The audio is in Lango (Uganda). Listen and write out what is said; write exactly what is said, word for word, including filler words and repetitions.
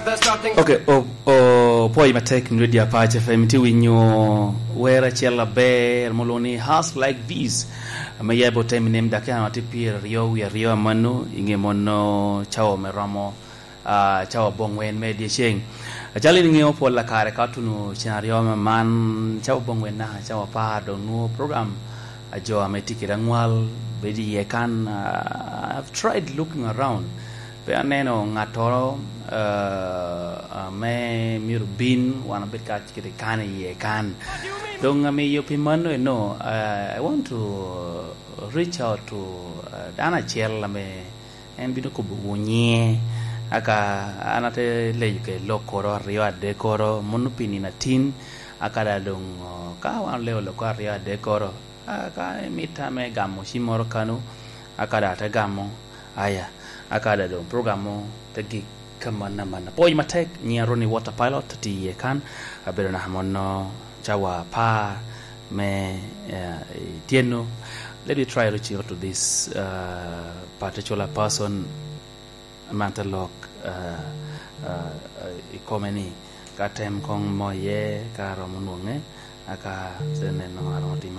Ok, o, o pwoc matek ni Radio Apac F M, tye winyo wer acel aber ma olwoŋo ni House Like This, ame ya bot Eminem, dakika tye pyeraryo wie aryo amano, i ŋe mono cawa me romo, ah, cawa boŋwen me dyeceŋ. Acalo in iŋeo pol akare ka otuno cen aryo me man, cawa boŋwen naka cawa apar, dok nwoŋo program a jo ame tye kede aŋwal bedo iye kan. Ah, I've tried looking around. Pe aneno ŋattoro, eh, ame myero bin wan obed ka kede kan iye kan. Doŋ amiyo pi mano eno, eh, I want to reach out to, eh, dano acel ame en bino kobo wu nyiŋe. Aka an ate leyo ke lokkoro aryo adekkoro, mono pi nino atin, aka da doŋ, oh, ka wan oleo lokkoro aryo adekkoro, aka imita me gamo cimmoro kano, aka da ate gamo, aya, aka da doŋ program mo te gik ka manna manna. Pwoc matek, nyiŋa Ronnie Water Pilot, tye iye kan, abedo naka mono cawa apar me, eh, i tyeno. Let me try reaching out to this, uh, particular person, man te lok, uh, uh, uh, i kome ni, ka tem koŋ moye, ka romo nwoŋe, aka te neno aromo timo.